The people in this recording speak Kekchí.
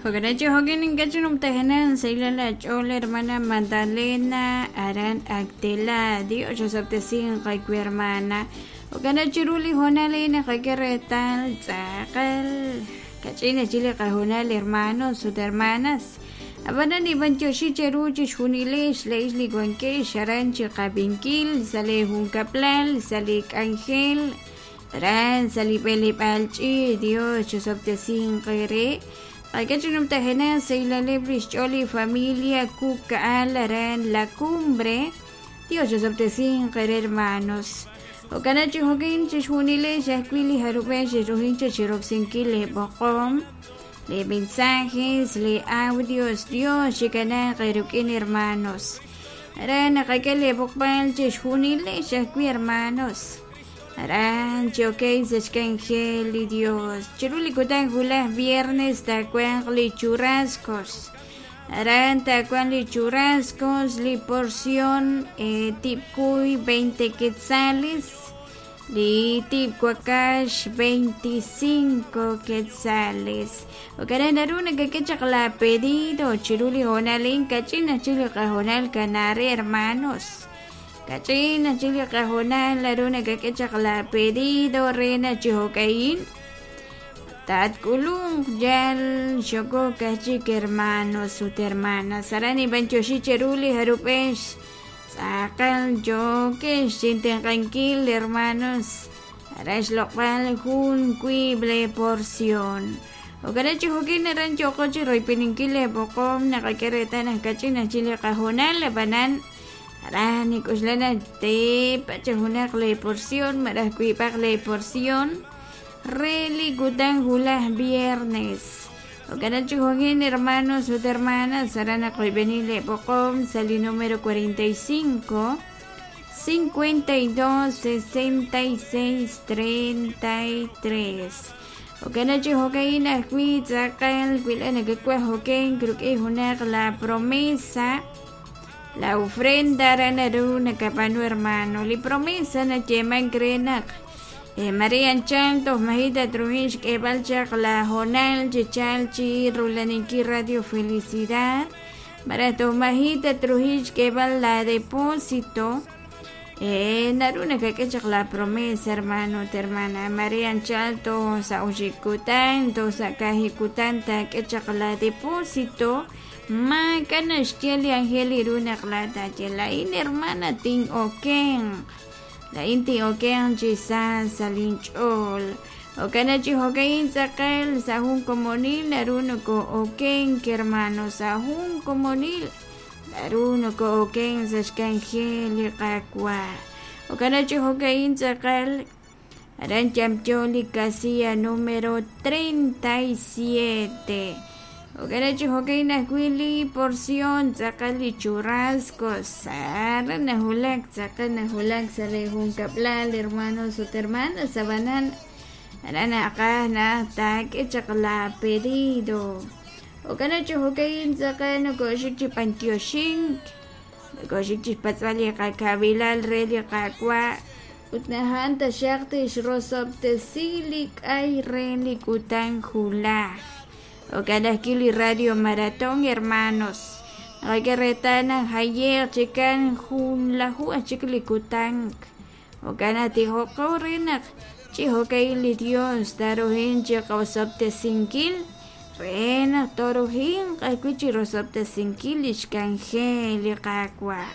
Jo'kan ink'a' numtajenaq sahilal aach'ool hermana Magdalena aran Actela. Dios osob'tesinq aawe hermana. Jo'kan chiru li hoonal a'in naqak'e reetal tz'aqal kach'in chik li qahoonal hermanos ut hermanas. Ab'anan ninb'antioxi cheru chixjunilex laa'ex li wankex aran chiqab'inkil sa' lee junkab'lal, sa' li k'anjel, aran sa' li b'eleb'aal ch'iich'. Dios chosob'tesinq eere. Qak'e chi numtajenaq sahilaleb' lix ch'ool li familia Kuka'al aran La Cumbre. Dios chosob'tesinq eere hermanos. Jo'kan chi jo'kin chixjunilex ajwi' li jarub'ej xexruhin chiroksinkil lee b'oqom, lee mensajes, lee audios. Dios chikanaaq eerik'in hermanos. Aran naqak'e lee b'oqb'al chixjunilex ajwi' hermanos. Aran chi okey sa' xk'anjel li Dios. Chiru li kutan wulaj viernes taawanq li churrascos. Aran taawanq li churrascos, li porción tib'kuy 20 quetzales, li tib' wakax 25 quetzales. Jo'kan naru nakak'e chaq la pedido chiru li hoonal a'in kach'in aj chik li qahoonal kanaare hermanos. Kach'in aj chik li qahoonal naru nakak'e chaq la pedido re naq chi jo'ka'in tatk'ulunq yal xokok aj chik hermanos ut hermanas. Aran ninb'antioxi cheru li jarub'ex tz'aqal yookex chintenq'ankil hermanos aran xloq'b'al jun wiib' lee porción. Jo'kan chi jo'kin aran yooqo chi royb'eninkil lee b'oqom naqak'e reetal naq kach'in aj chik li qahoonal ab'anan aran nik'uxla naq teepa chi junaq lee porción malaj wiib'aq lee porción re li kutan wulaj viernes. Jo'kan chi jo'kin hermanos ut hermanas aran naqoyb'eni lee b'oqom sa' li número 45 52 66 33. Jo'kan chi jo'ka'in ajwi' tz'aqal wila nakak'uaj jo'ken rik'in junaq la promesa, la ofrenda aran naru nakab'aanu hermano. Li promesa nayeemank re naq Maria anchal toj maji' tatruhin xk'eeb'al chaq la hoonal chi chalk chi rulaninkil Radio Felicidad malaj toj maji' tatruhin xk'eeb'al la depósito naru nakak'e chaq la promesa hermano ut hermana. Maria anchal toj sa' oxib' kutan toj sa' kaahib' kutan taak'e chaq la depósito maak'a' naxye li anjel ru naq laa'at taaye laa'in hermana tin'okenq. Laa'in tin'okenq chi sa sa' linch'ool. Jo'kan chi jo'ka'in tz'aqal sa' jun komonil naru noko'okenk hermano sa' jun komonil naru noko'okenk sa' xk'anjel li Qaawa'. Jo'kan chi jo'ka'in tz'aqal aran yamyo li casilla número 37. Jo'kan chi jo'ka'in ajwi' li porción tz'aqal li churrascos aran nawulak tz'aqal nawulak sa' li junkab'lal hermanos ut hermanas ab'anan aran naqaj naq taak'e chaq la pedido. Jo'kan chi jo'ka'in tz'aqal nokoxik chi b'antioxink nokoxik chi xpatz'b'al li qakabilal re li Qaawa' ut najan taxaq tixrosob'tesi li k'ay re li kutan wulaj. Jo'kan ajwi' li Radio Maratón hermanos. Naqak'e reetal naq jaye'q chikan junlaju aj chik li kutan. Jo'kan naq tijoqo re naq chi jo'ka'in li Dios taruhin chi qosob'tesinkil re naq toruhinq ajwi' chi rosob'tesinkil li xk'anjel li Qaawa'.